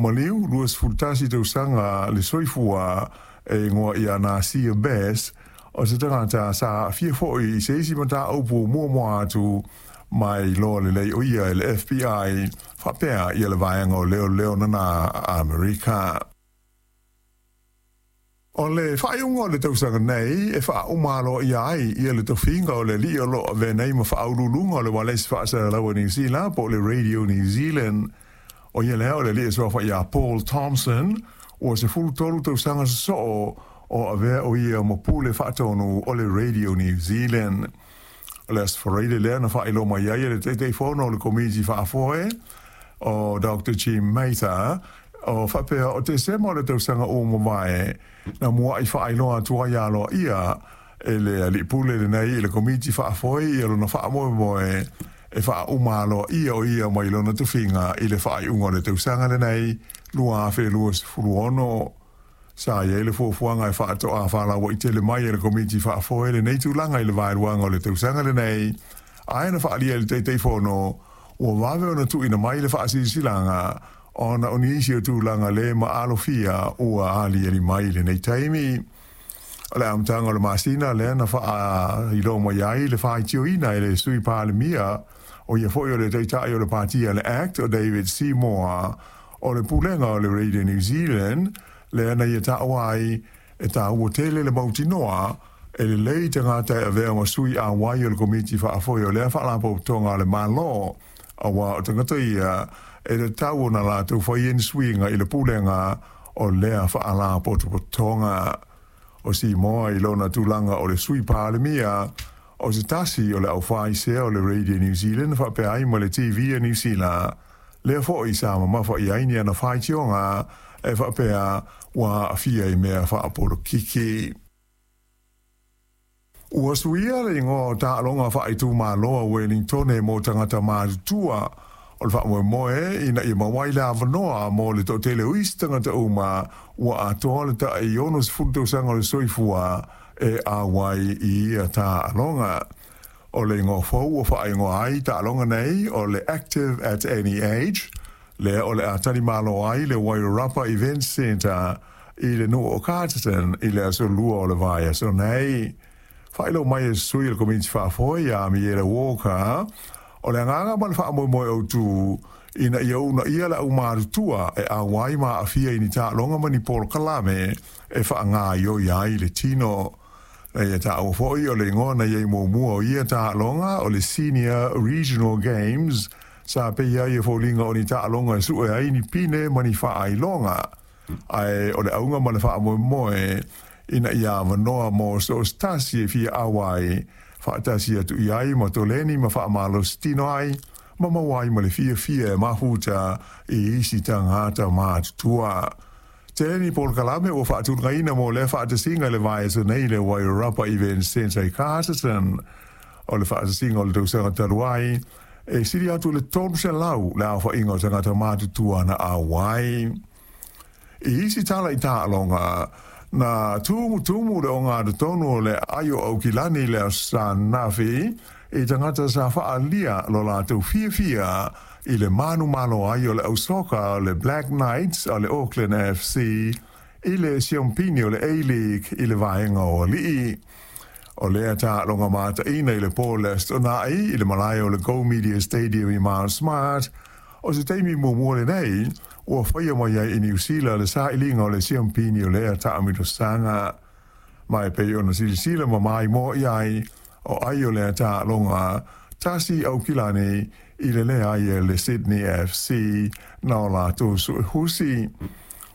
maliu, 21 tausaga le soifua, e igoa ia Nasia Best, o se tagata sa aafia foi i se isi mataupu muamua atu ma e iloa lelei o ia e le FBI faapea ia le Vaega o Leoleo Nana a Amerika. O le faaiuga o le tausaga nei e faauma aloaia ai ia le tofiga o le alii o lo o avea nei ma faauluuluga o le ualesi faasalalau a Niu Sila po o le Radio New Zealand. O ia lea o le alii e suafa ia Paul Thompson, ua 13 tausaga sosoo o avea o ia ma pule faatonu o le Radio New Zealand. O le Aso Faraile lea na faailoa mai ai e le Taitaifono o le Komiti Faafoe o Doctor Jim Mather, o faapea o Tesema o le tausaga ua mavae na muaʻi faailoa atu ai aloaia e le alii pule lenei i le Komiti Faafoe ia lona faamoemoe e faauma aloaia o ia mai lona tofiga i le faaiuga o le tausaga lenei 2026. Sa i ai le fuafuaga e faatoa faalauaitele mai e le Komiti Faafoe lenei tulaga i le vaeluaga o le tausaga lenei, ae na faaalia e le Taitaifono ua vave ona tuuina mai le faasilasilaga ona o nisi o tulaga le maalofia ua aliali mai i lenei taimi. O le amataga o le masina lea na faailoa mai ai le faitioina e le Sui Palemia, o ia foi o le Taitai o le Patia le act o David Seymour, o le Pulega o le Radio New Zealand, lea na ia taua ai e taua tele le mautinoa e lelei tagata e avea ma sui auai o le Komiti Faafoe o lea Faalapotopotoga a le Malo, aua o tagata ia e tatau ona latou faia ni suiga i le pulega o lea Faalapotopotoga. O Seymour i lona tulaga o le Sui Palemia, o se tasi o le aufaisea o le Radio New Zealand faapea ai ma le TV a Niu Sila, lea foi sa mamafa i ai ni ana faitioga e faapea ua aafia i mea faapolokiki. Ua suia le igoa o taaloga faaitumalo a Wellingtone mo tagata matutua. O le faamoemoe ina ia maua ai le avanoa mo le toatele o isi tagata uma ua atoa le tai 60 tausaga o le soifua e auai i ia taaloga. O le igoa fou ua faaigoa ai taaloga nei o le Active at Any Age, lea o le a talimalo ai le Wairarapa Events Centre i le nuu o Carterton i le aso Lua o le vaiaso nei. Faailoa mai e sui o le Komiti Faafoe ia Amiela Walker, o le agaga ma le faamoemoe autu ina ia uunaia le aumatutua e auai ma aafia i ni taaloga ma ni polokalame e faagaoioi ai le tino. Na ia taua foi o le igoa na i ai muamua o ia taaloga o le Senior Regional Games, sa pei ai e foliga o ni taaloga e sue ai ni pine ma ni faailoga, ae o le auga ma le faamoemoe ina ia avanoa mo so o se tasi e fia auai faatasi atu i ai ma toleni ma faamalositino ai ma maua ai ma le fiafia e mafuta i isi tagata matutua. Tele ni polokalame ua faatulagaina mo lea faatasiga i le vaiaso nei i le Wairarapa Events Centre i Carterton. O le faatasiga o le tausaga talu ai, e sili atu i le 300 le aofaiga o tagata matutua na auai. I isi tala i taaloga, na tumutumu le ogatotonu o le aio Aukilani i le Aso Sa ananafi i tagata sa faaalia lo latou fiafia i le manumalo ai o le au soka o le Black Knights a le Auckland FC i le siompini o le A-League i le vaega o alii. O lea taaloga mataina i le po o le Aso Toonai i le malae o le Go Media Stadium i Mount Smart, o se taimi muamua lenei ua faia mai ai i Niu Sila le sailiga o le siompini o lea taamilosaga. Ma e pei ona silasila ma maimoa i ai o ai o lea taaloga tasi Aukilani i le leai e le Sydney FC na o latou suehusi.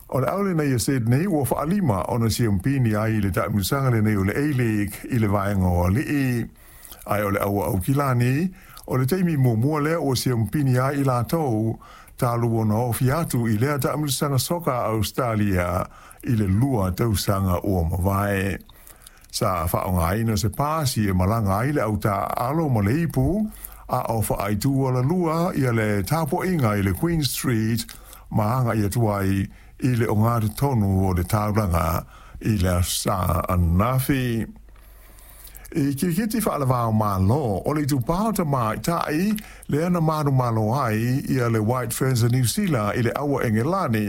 O le au lenei a Sydney ua faalima ona siompini ai i le taamilosaga lenei o le A-League i le vaega o alii. Ae o le au a Aukilani, o le taimi muamua lea ua siompini ai i latou talu ona ofi atu i lea taamilosaga soka a Ausetalia i le 2 tausaga ua mavae. Sa faaaogaina se pasi e malaga ai le au taaalo ma le ipu, a o faaaitu alalua ia le tapuaiga i le Queen Street ma agai atu ai i le ogatotonu o le taulaga i le Aso Sa ananafi. I kirikiti faalava-o-Malo, o le itupa o tamaitai lea na manumalo ai ia le White Ferns a Niu Sila i le aua Engelani.